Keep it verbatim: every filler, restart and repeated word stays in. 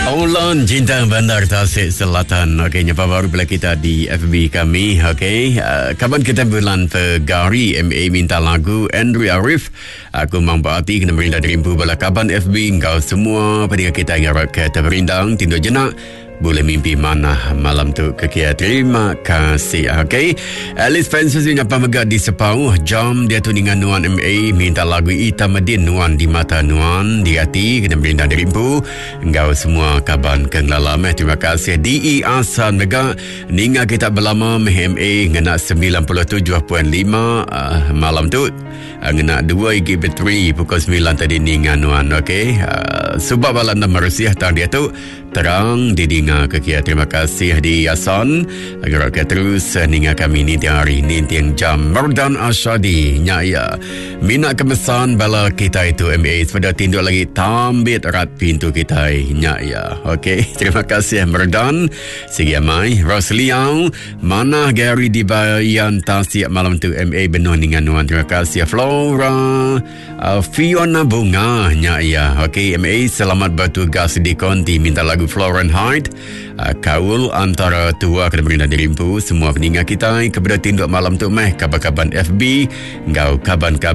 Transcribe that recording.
Olan Cinta Bandar Tasik Selatan. Okey, nyapa baru pula kita di F B kami. Okey, uh, kawan kita bulan Februari M A minta lagu Andrew Arif. Aku mampu hati kena merindang derimpu bala kaban F B engkau semua pada kita yang harap ke terperindang tidur jenak. Boleh mimpi mana malam tu ke kia. Terima kasih. Okey. Alice Francis nyapa mega di Sepau. Jam dia tu dengan Nuan M A minta lagu Ita Medin Nuan di mata Nuan di hati kena merindang derimpu engkau semua kaban kenglala meh. Terima kasih. D E Asan mega ninga kita berlama meh M A ngena sembilan puluh tujuh perpuluhan lima, uh, malam tu. Uh, ngena dua gig bateri pukul sembilan tadi ninga Nuan. Okey. Uh, sebab balan nama Rusia tang dia tu terang didinga ke kia. Terima kasih di Asan. Agar ke terus ninga kami ni tiang hari ni tiang jam. Merdan Asyadi nya ya. Minat kemesan bala kita itu M A sepeda tinduk lagi tambit erat pintu kita nya ya. Okey, terima kasih Merdan. Sigi amai Rosliang mana Gary di Bayan Tasik malam tu M A benuh ninga Nuan. Terima kasih Flora, uh, Fiona Bunga nya ya. Okey M A selamat bertugas di konti minta lagu Florence Hyde. Uh, kaul antara tua kena berindah dirimpu semua peningat kita kepada tinduk malam tu meh kaban-kaban F B ngau kaban-kaban